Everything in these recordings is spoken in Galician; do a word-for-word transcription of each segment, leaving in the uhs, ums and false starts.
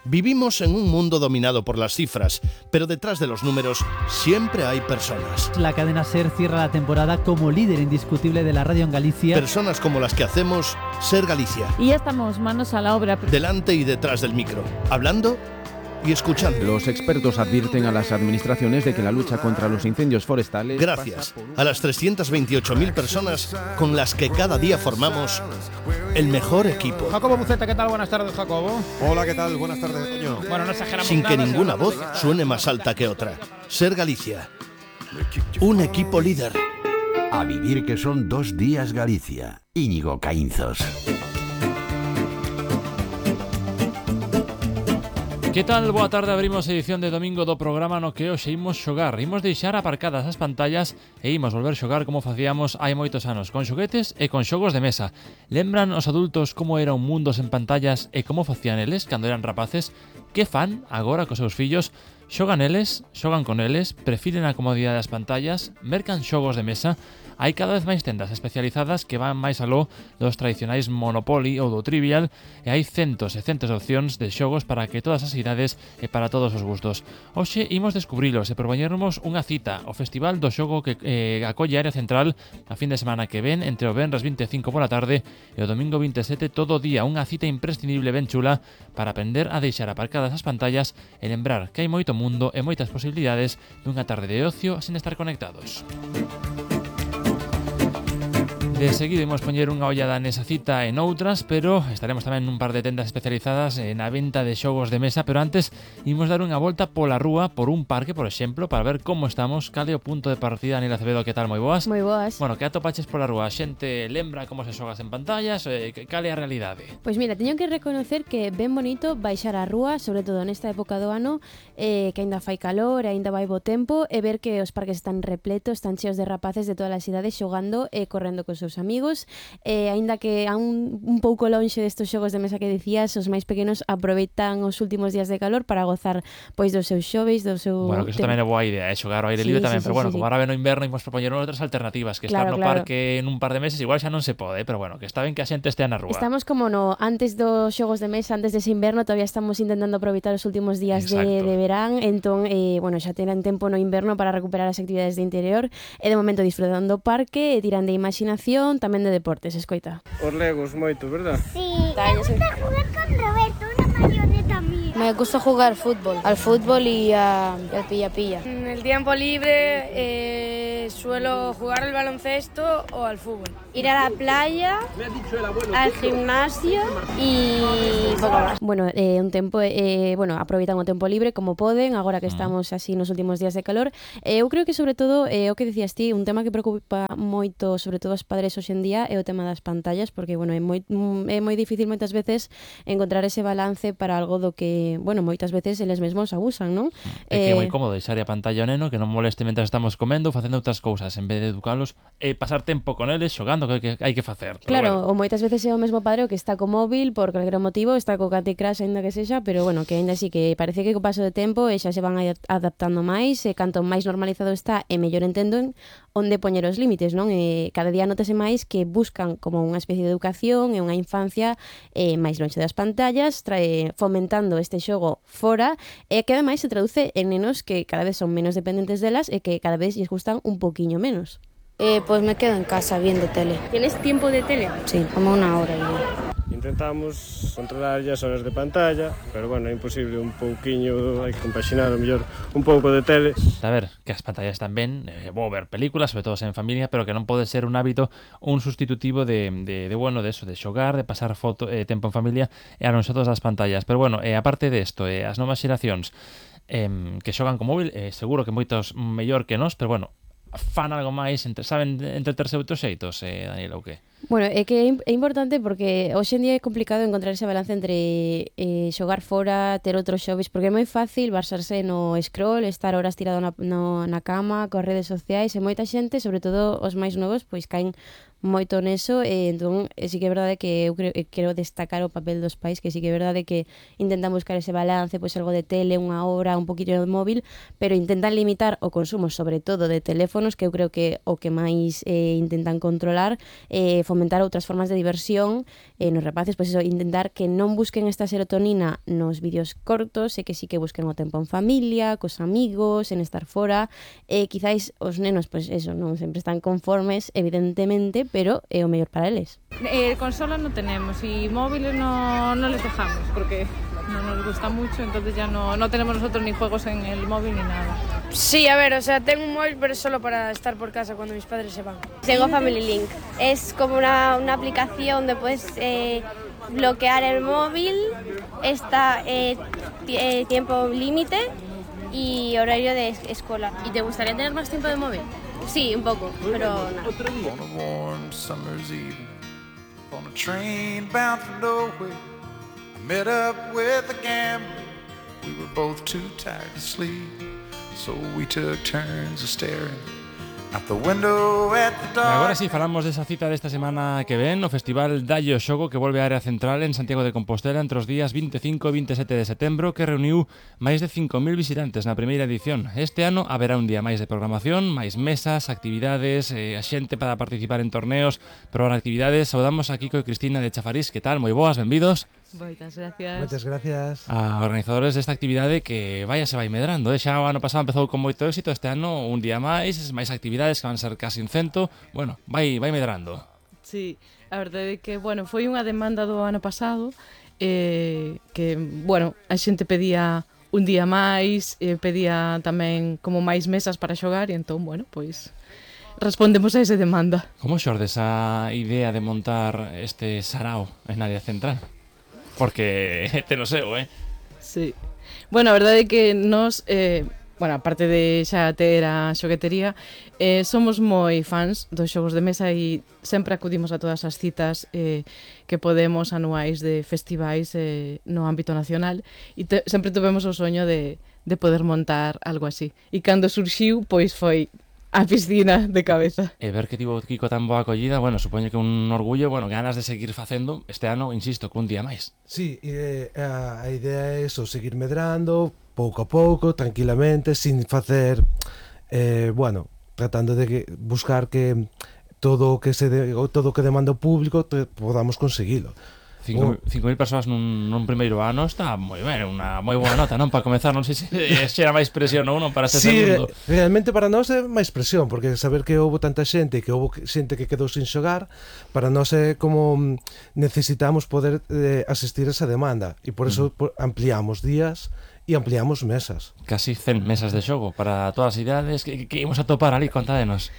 Vivimos en un mundo dominado por las cifras, pero detrás de los números siempre hay personas. La cadena SER cierra la temporada como líder indiscutible de la radio en Galicia. Personas como las que hacemos SER Galicia. Y ya estamos manos a la obra. Delante y detrás del micro, hablando y escuchando. Los expertos advierten a las administraciones de que la lucha contra los incendios forestales... Gracias a las trescientas veintiocho mil personas con las que cada día formamos el mejor equipo. Jacobo Buceta, ¿qué tal? Buenas tardes, Jacobo. Hola, ¿qué tal? Buenas tardes, Toño. Bueno, no exageramos Sin que nada, ninguna se voz suene más alta que otra. SER Galicia. Un equipo líder. A vivir que son dos días Galicia. Íñigo Caínzos. Que tal? Boa tarde, abrimos edición de domingo do programa no que hoxe imos xogar. Imos deixar aparcadas as pantallas e imos volver xogar como facíamos hai moitos anos, con xoguetes e con xogos de mesa. Lembran os adultos como era un mundo sen pantallas e como facían eles cando eran rapaces? Que fan agora cos seus fillos? Xogan eles, xogan con eles, prefiren a comodidade das pantallas, mercan xogos de mesa. Hai cada vez máis tendas especializadas que van máis aló dos tradicionais Monopoly ou do Trivial e hai centos e centos de opcións de xogos para que todas as idades e para todos os gustos. Hoxe imos descubrilos e propoñernos unha cita, o Festival do Xogo que eh, acolle a área central a fin de semana que ven entre o venres vinte e cinco pola tarde e o domingo vinte e sete todo o día, unha cita imprescindible ben chula para aprender a deixar aparcadas as pantallas e lembrar que hai moito mundo e moitas posibilidades dunha tarde de ocio sin estar conectados. De seguido imos poñer unha ollada nesa cita e noutras, pero estaremos tamén nun par de tendas especializadas na venta de xogos de mesa, pero antes imos dar unha volta pola rúa, por un parque, por exemplo, para ver como estamos. Cal é o punto de partida, Daniela Acevedo, que tal? Moi boas? Moi boas. Bueno, que atopaches pola rúa? A xente lembra como se xogas en pantallas? Eh, cal é a realidade? Pois mira, teño que reconocer que ben bonito baixar a rúa, sobre todo nesta época do ano, eh, que aínda fai calor, aínda vai bo tempo, e ver que os parques están repletos, están cheos de rapaces de todas as idades xogando e correndo cos seus amigos, e aínda que a un, un pouco lonxe destos xogos de mesa que dicías, os máis pequenos aproveitan os últimos días de calor para gozar pois dos seus xoves, do seu... Bueno, que isto tamén é boa idea, eh? Xogar ao aire sí, libre tamén, sí, pero sí, bueno, sí, como sí. ahora ven o inverno imos propoñer outras alternativas, que claro, estar no claro. parque en un par de meses igual xa non se pode, pero bueno, que está ben que a xente estea na rúa. Estamos como no antes dos xogos de mesa, antes dese inverno, todavía estamos intentando aproveitar os últimos días de, de verán, entón, eh, bueno, xa tenen tempo no inverno para recuperar as actividades de interior e de momento disfrutando do parque e tiran de imaginación, tamén de deportes, escoita. Os legos moito, verdad? Sí, me gusta jugar con Roberto, una marioneta mía. Me gusta jugar fútbol, al fútbol y a, al pilla-pilla. En el tiempo libre eh, suelo jugar al baloncesto o al fútbol. Ir a la playa, al gimnasio y poco más. Bueno, eh, un tempo, eh, bueno, aproveitan o tempo libre como poden, agora que estamos así nos últimos días de calor. Eh, eu creo que sobre todo, eh, o que dicías ti, un tema que preocupa moito, sobre todo os padres hoxe en día, é o tema das pantallas, porque, bueno, é moi, é moi difícil moitas veces encontrar ese balance para algo do que, bueno, moitas veces eles mesmos abusan, non? É que é moi cómodo deixar a pantalla ao neno, que non moleste mentre estamos comendo, facendo outras cousas, en vez de educalos e pasar tempo con eles xogando, que, que hai que facer. Claro, bueno. ou moitas veces é o mesmo padre o que está co móvil por calquera motivo, está co Candy Crush aínda que sexa, pero bueno, que aínda así que parece que co paso de tempo e xa se van adaptando máis, e canto máis normalizado está e mellor entenden onde poñer os límites, non? E cada día notase máis que buscan como unha especie de educación e unha infancia eh, máis lonxe das pantallas, trae, fomentando este xogo fora, e que ademais se traduce en nenos que cada vez son menos dependentes delas e que cada vez lles gustan un poquinho menos. Eh, pues me quedo en casa viendo tele. ¿Tienes tiempo de tele? Sí, como una hora y ya. Intentamos controlar as horas de pantalla, pero bueno, é imposible, un pouquiño, hai que compaxinar o mellor un pouco de tele. A ver, que as pantallas tamén, é bo ver películas, sobre todo en familia, pero que non pode ser un hábito, un sustitutivo de, de, de bueno, de eso, de xogar, de pasar foto, eh, tempo en familia e a nosotros das pantallas. Pero bueno, eh, aparte de isto, eh, as novas xeracións eh, que xogan con móvil, eh, seguro que moitos mellor que nós, pero bueno, fan algo máis, entre, saben entreterse outros xeitos, eh, Daniela, ou que? Bueno, é que é importante porque hoxe en día é complicado encontrar ese balance entre eh, xogar fora, ter outros xoves, porque é moi fácil basarse no scroll, estar horas tirado na, no, na cama, coas redes sociais, e moita xente, sobre todo os máis novos, pois caen moito neso, e entón eh, sí que é verdade que eu creo, eh, quero destacar o papel dos pais, que sí que é verdade que intentan buscar ese balance, pois algo de tele, unha hora, un poquillo de móvil, pero intentan limitar o consumo, sobre todo de teléfonos, que eu creo que o que máis eh, intentan controlar, eh, fomentar outras formas de diversión eh, nos rapaces, pois eso, intentar que non busquen esta serotonina nos vídeos cortos, e que sí que busquen o tempo en familia, cos amigos, en estar fora, e eh, quizáis os nenos, pois eso, non sempre están conformes, evidentemente, pero é o mellor para eles. Eh, consola no tenemos y móviles no, no les dejamos porque no nos gusta mucho, entonces ya no, no tenemos nosotros ni juegos en el móvil ni nada. Sí, a ver, o sea, tengo un móvil, pero es solo para estar por casa cuando mis padres se van. Tengo Family Link. Es como una, una aplicación donde puedes eh, bloquear el móvil, está eh, eh, tiempo límite y horario de escuela. ¿Y te gustaría tener más tiempo de móvil? Sí, un poco, pero nada. Met up with a gambler, we were both too tired to sleep, so we took turns of staring out the window at the dark. Agora si falamos desa cita desta semana que ven, o Festival Dallo Xogo, que volve á área central en Santiago de Compostela entre os días vinte e cinco e vinte e sete de setembro, que reuniu máis de cinco mil visitantes na primeira edición. Este ano haberá un día máis de programación, máis mesas, actividades, eh, a xente para participar en torneos, probar actividades. Saudamos a Kiko e Cristina de Chafarís. Que tal? Moi boas, benvidos. Moitas gracias. Moitas gracias. A organizadores desta actividade que vaya se vai medrando, eh? Xa o ano pasado empezou con moito éxito, este ano un día máis, máis actividades que van ser casi un cento, bueno, vai, vai medrando. Sí, a verdade é que, bueno, foi unha demanda do ano pasado, eh, que, bueno, a xente pedía un día máis, eh, pedía tamén como máis mesas para xogar, e entón, bueno, pois respondemos a esa demanda. Como xorde esa idea de montar este sarao en área central? Porque te lo seu, eh? Sí. Bueno, a verdade é que nos, eh, bueno, aparte de xa ter a xoguetería, eh, somos moi fans dos xogos de mesa e sempre acudimos a todas as citas eh, que podemos anuais de festivais eh, no ámbito nacional, e te, sempre tuvemos o soño de, de poder montar algo así. E cando surxiu, pois foi a piscina de cabeza. E ver que tivo Kiko tan boa acollida, bueno, supoño que un orgullo, bueno, ganas de seguir facendo este ano, insisto, que un día máis. Sí, eh, a, a idea é eso, seguir medrando, pouco a pouco, tranquilamente, sin facer, eh, bueno, tratando de que, buscar que todo o que se de, todo o que demanda o público te, podamos conseguilo. cinco mil persoas nun, nun primeiro ano está moi ben, unha moi boa nota, non? Para comezar, non sei se xera máis presión ou non para este sí, segundo. Sí, realmente para nós é máis presión, porque saber que houve tanta xente, que houve xente que quedou sin xogar, para nós é como necesitamos poder eh, asistir a esa demanda, e por eso mm. ampliamos días e ampliamos mesas. Casi cen mesas de xogo para todas as idades. Que, que imos a topar ali, contádenos.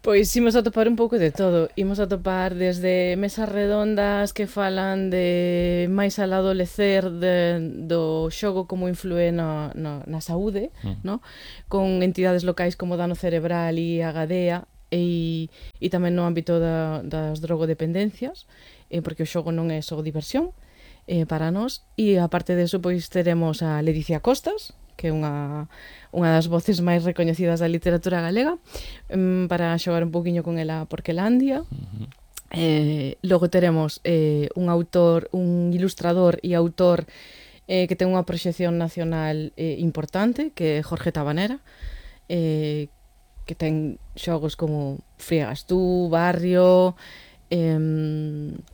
Pois imos a topar un pouco de todo. Imos a topar desde mesas redondas que falan de máis al adolecer de, do xogo como influe no, no, na saúde, mm. no? Con entidades locais como Dano Cerebral e Agadea, e, e tamén no ámbito da, das drogodependencias, eh, porque o xogo non é só diversión eh, para nós. E aparte deso, pois teremos a Ledicia Costas, que é unha, unha das voces máis recoñecidas da literatura galega, um, para xogar un poquinho con ela Porquelandia. Uh-huh. Eh, logo teremos eh, un autor, un ilustrador e autor eh, que ten unha proxección nacional eh, importante, que é Jorge Tabanera, eh, que ten xogos como Friegas tú, Barrio... Eh,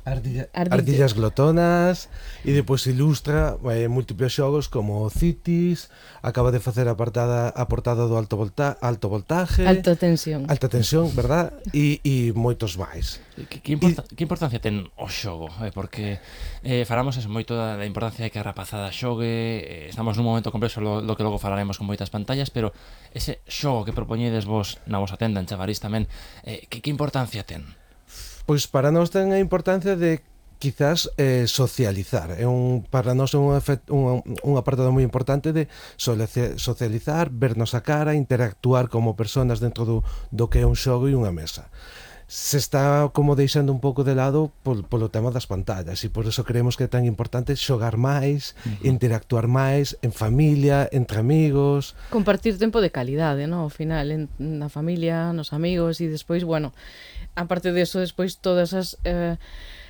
Ardilla, Ardillas glotonas, e depois ilustra eh, múltiples xogos como Cities, acaba de facer a portada, a portada do alto, volta, alto voltaje, alta tensión, alta tensión, verdad? E, e moitos máis. Que, que, importa, e, que importancia ten o xogo? Eh, porque eh, falamos eso moito da, da importancia de que a rapazada xogue, eh, estamos nun momento complexo lo, lo que logo falaremos con moitas pantallas, pero ese xogo que propoñedes vos na vosa tenda en Chavarís tamén, eh, que, que importancia ten? Pois para nós ten a importancia de quizás eh, socializar. É un, para nós é un, un, un apartado moi importante de socializar, vernos a cara, interactuar como personas dentro do, do que é un xogo e unha mesa. se está como deixando un pouco de lado pol, polo tema das pantallas, e por eso creemos que é tan importante xogar máis, uh-huh. interactuar máis en familia, entre amigos, compartir tempo de calidade, ¿no? Ao final, en, na familia, nos amigos, e despois, bueno, aparte de eso, despois todas as eh,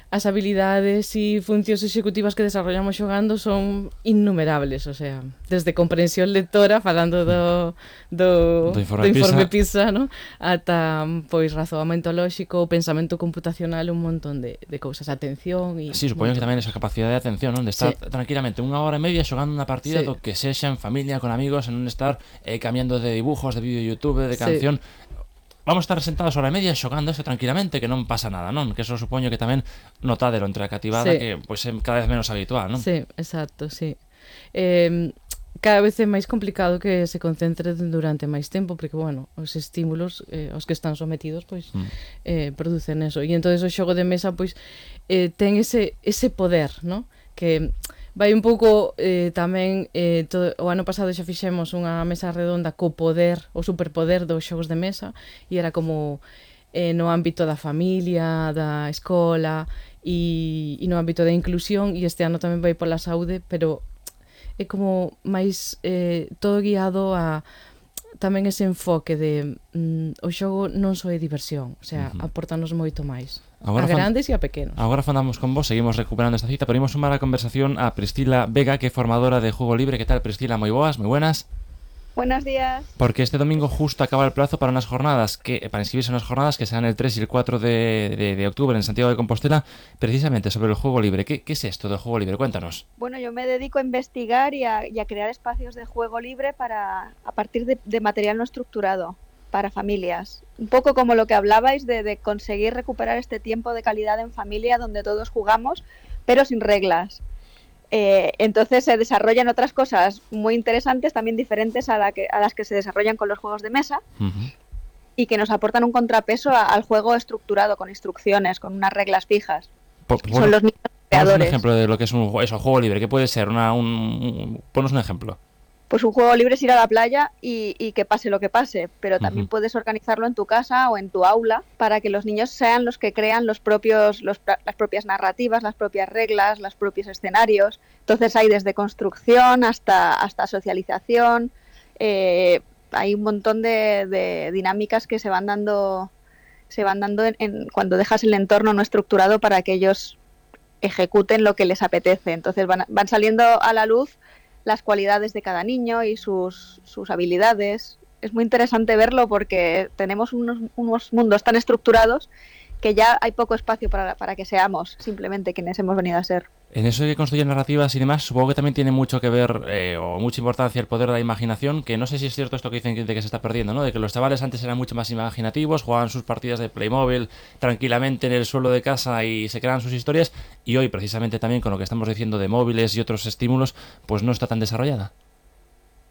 as habilidades e funcións executivas que desarrollamos xogando son innumerables, o sea, desde comprensión lectora, falando do, do, do informe, do informe PISA, PISA, ¿no? Ata, pois, razoamento lóxico, pensamento computacional, un montón de, de cousas, atención e... Sí, supoño que tamén esa capacidade de atención, non? De estar sí. tranquilamente unha hora e media xogando unha partida sí. do que sexa en familia, con amigos, en non estar eh, cambiando de dibujos, de vídeo de YouTube, de canción... Sí. Vamos a estar sentados hora e media xogando eso tranquilamente, que non pasa nada, non? Que eso supoño que tamén notadero entre a cativada sí. que pois é cada vez menos habitual, non? Sí, exacto, sí. Eh, cada vez é máis complicado que se concentre durante máis tempo, porque, bueno, os estímulos eh, aos que están sometidos, pois, mm. eh, producen eso. E entonces o xogo de mesa, pois, eh, ten ese, ese poder, non? Que... vai un pouco eh, tamén eh, todo, o ano pasado xa fixemos unha mesa redonda co poder, o superpoder dos xogos de mesa, e era como eh, no ámbito da familia, da escola e, e no ámbito da inclusión, e este ano tamén vai pola saúde, pero é como máis eh, todo guiado a tamén ese enfoque de mm, o xogo non só é diversión, o sea, uh-huh. aportanos moito máis. Agora a grandes e a pequenos. Agora falamos con vos, seguimos recuperando esta cita, pero imos sumar a conversación a Priscila Vega, que é formadora de Juego Libre. Que tal, Priscila? Moi boas, moi buenas. Buenos días. Porque este domingo justo acaba el plazo para unas jornadas, que para inscribirse en unas jornadas que serán el tres y el cuatro de, de, de octubre en Santiago de Compostela, precisamente sobre el juego libre. ¿Qué, qué es esto del juego libre? Cuéntanos. Bueno, yo me dedico a investigar y a, y a crear espacios de juego libre para a partir de, de material no estructurado para familias. Un poco como lo que hablabais de, de conseguir recuperar este tiempo de calidad en familia donde todos jugamos, pero sin reglas. Eh, entonces se desarrollan otras cosas muy interesantes, también diferentes a, la que, a las que se desarrollan con los juegos de mesa, uh-huh. y que nos aportan un contrapeso a, al juego estructurado, con instrucciones, con unas reglas fijas. Por, bueno, son los niños creadores. Un ejemplo de lo que es un, eso, juego libre. ¿Qué puede ser? Una, un, un, ponos un ejemplo. Pues un juego libre es ir a la playa y, y que pase lo que pase, pero también uh-huh. puedes organizarlo en tu casa o en tu aula para que los niños sean los que crean los propios, los, las propias narrativas, las propias reglas, los propios escenarios. Entonces hay desde construcción hasta, hasta socialización, eh, hay un montón de, de dinámicas que se van dando, se van dando en, en, cuando dejas el entorno no estructurado para que ellos ejecuten lo que les apetece. Entonces van, van saliendo a la luz las cualidades de cada niño y sus, sus habilidades. Es muy interesante verlo porque tenemos unos, unos mundos tan estructurados que ya hay poco espacio para, para que seamos simplemente quienes hemos venido a ser. En eso de construir narrativas y demás, supongo que también tiene mucho que ver, eh, o mucha importancia el poder de la imaginación, que no sé si es cierto esto que dicen de que se está perdiendo, ¿no? De que los chavales antes eran mucho más imaginativos, jugaban sus partidas de Playmobil tranquilamente en el suelo de casa y se creaban sus historias, y hoy, precisamente también con lo que estamos diciendo de móviles y otros estímulos, pues no está tan desarrollada.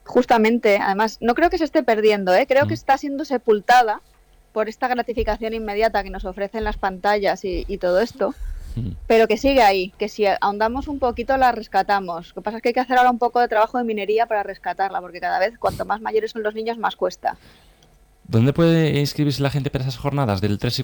Justamente, además, no creo que se esté perdiendo, ¿eh? Creo mm. que está siendo sepultada por esta gratificación inmediata que nos ofrecen las pantallas y, y todo esto, mm. pero que sigue ahí, que si ahondamos un poquito la rescatamos. Lo que pasa es que hay que hacer ahora un poco de trabajo de minería para rescatarla, porque cada vez cuanto más mayores son los niños más cuesta. ¿Dónde puede inscribirse la gente para esas jornadas del tres y cuatro